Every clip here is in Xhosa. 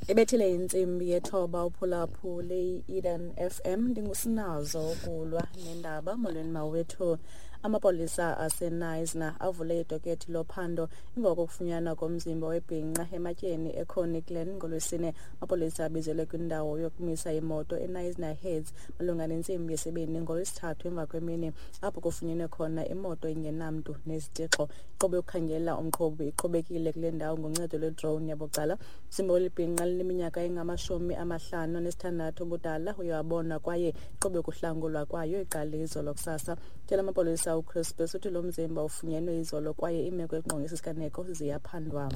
Ibethile intsimbi yethoba uphulaphule i-Eden FM. Ndingusinazo ukulwa nendaba. Molweni mawethu. Amapolisa aseKnysna avule idokethi lophando emva kokufunyanwa komzimba webhinqa ematyeni eConnie Glen ngoLwesine. Amapolisa abizelwe kwindawo yokumisa imoto eKnysna Heads malunga nentsimbi yesibini ngoLwesithathu emva kwemini, apho kufunyenwe khona imoto ingenamntu nezitixo. Inkqubo yokukhangela umqhubi iqhubekile kule ndawo ngoncedo lwedrone yabucala. Umzimba welibhinqa lineminyaka engama-56 ubudala uye wabonwa kwaye inkqubo yokuhlangulwa kwayo iqale izolo kusasa. Tyela amapolisa uChris uthi lo mzimba ufunyenwe izolo kwaye iimeko ekungqongisa isiganeko ziyaphandwa.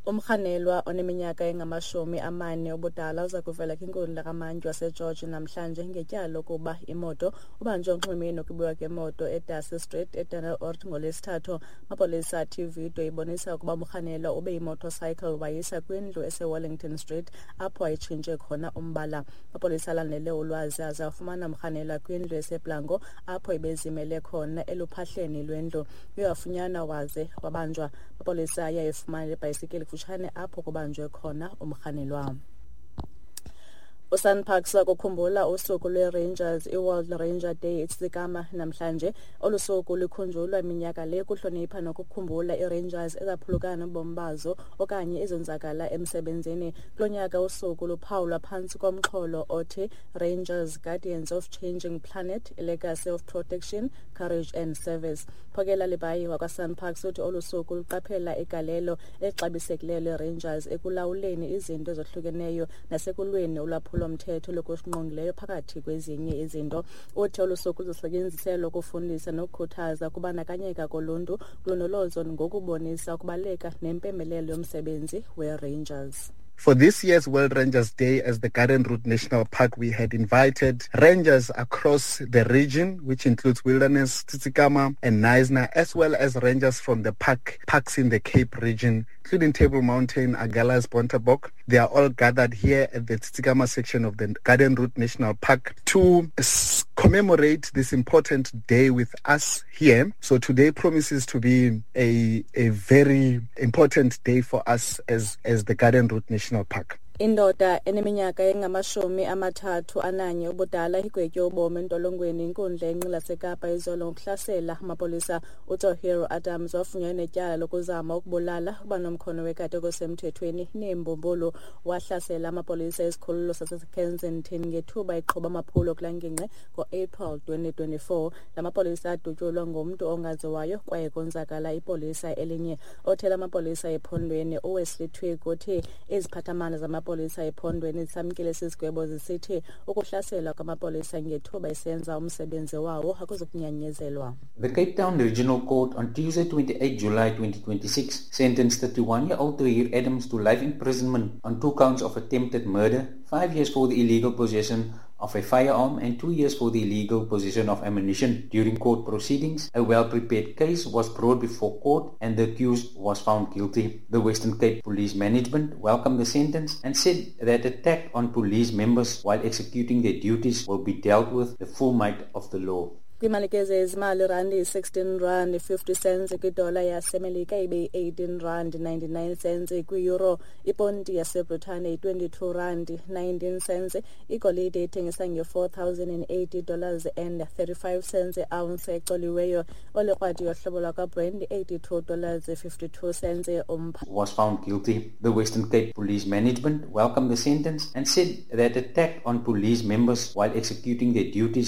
Umrhanelwa oneminyaka engama-40 ubudala uza kuvela kwinkundla kamantyi waseGeorge namhlanje ngetyala lokuba imoto. Ubanjwe onxwemeni nokubiwa kwemoto eDarcy Street eDanel ngoLwesithathu. Amapolisa athi ividiyo ibonisa ukuba umrhanelwa ube imotorcycle wayisa kwindlu eseWellington Street apho ayitshintshe khona umbala. Amapolisa alandele ulwazi aze afumana umrhanelwa kwindlu eseBlanco apho ebezimele khona eluphahleni lwendlu. Uye wafunyanwa waze wabanjwa. Amapolisa aye ayifumana le bhayisikili kufutshane apho kubanjwe khona umrhanelwa. USANParks wakukhumbula usuku lweRangers, iWorld Ranger Day, eTsitsikamma namhlanje. Olu suku lukhunjulwa minyaka le kuhlonipha nokukhumbula iiRangers ezaphulukana nobomi bazo okanye ezonzakala emsebenzini. Kulo nyaka usuku luphawulwa phantsi komxholo othi "Rangers, Guardians of Changing Planet, a Legacy of Protection, Courage and Service". Phokela Libayi wakwaSANParks uthi olu suku luqaphela igalelo elixabisekileyo leRangers ekulawuleni izinto ezohlukeneyo nasekulweni ulwaphulo-mthetho lokusingqongileyo phakathi kwezinye izinto. Uthi olu suku luzosetyenziselwa ukufundisa nokukhuthaza ukubandakanyeka koluntu kulondolozo ngokubonisa ukubaluleka nempembelelo yomsebenzi weRangers. For this year's World Rangers Day as the Garden Route National Park, we had invited rangers across the region, which includes Wilderness, Tsitsikamma and Knysna, as well as rangers from the parks in the Cape region, including Table Mountain, Agulhas, Bontebok. They are all gathered here at the Tsitsikamma section of the Garden Route National Park to commemorate this important day with us here. So today promises to be a very important day for us as the Garden Route National Park. Indoda eneminyaka engama-31 ubudala igwetywe ubomi entolongweni inkundla yenqila seKapa izolo ngokuhlasela amapolisa. UTohiro Adams wafunyanwa netyala lokuzama ukubulala, ukuba nomkhono wekati okusemthethweni neembumbulu. Wahlasela amapolisa esikhululo saseKensington ngethuba eqhuba amaphulo kulaa ngingqi ngo-April 2024. La mapolisa adutyulwa ngumntu ongaziwayo kwaye konzakala ipolisa elinye. Othela amapolisa ephondweni uWesley Twigg uthi iziphathamandla zamapolisa ephondweni zisamkele esi sigwebo, zisithi ukuhlaselwa kwamapolisa ngethuba esenza umsebenzi wawo akuzukunyanyezelwa. The Cape Town Regional Court on Tuesday, 28 July 2026, sentenced 31-year-old Tahir Adams to life imprisonment on two counts of attempted murder, 5 years for the illegal possession of a firearm and 2 years for the illegal possession of ammunition. During court proceedings, a well-prepared case was brought before court and the accused was found guilty. The Western Cape Police Management welcomed the sentence and said that attack on police members while executing their duties will be dealt with the full might of the law. Kwimalike zezimali, randi yi-16 rand 50 cents kwidola yaseMelika, ibe yi-18 rand 99 cents kwi-euro. Iponti yaseBritane yi-22 rand 19 cents. Igolide ithengisa nge-$4,080 and 35 cents ounce ecoliweyo. Olikrwadi yohlobo lwakwaBrent $82 52 cents umpha. Was found guilty. The Western Cape Police Management welcomed the sentence and said that attack on police members while executing their duties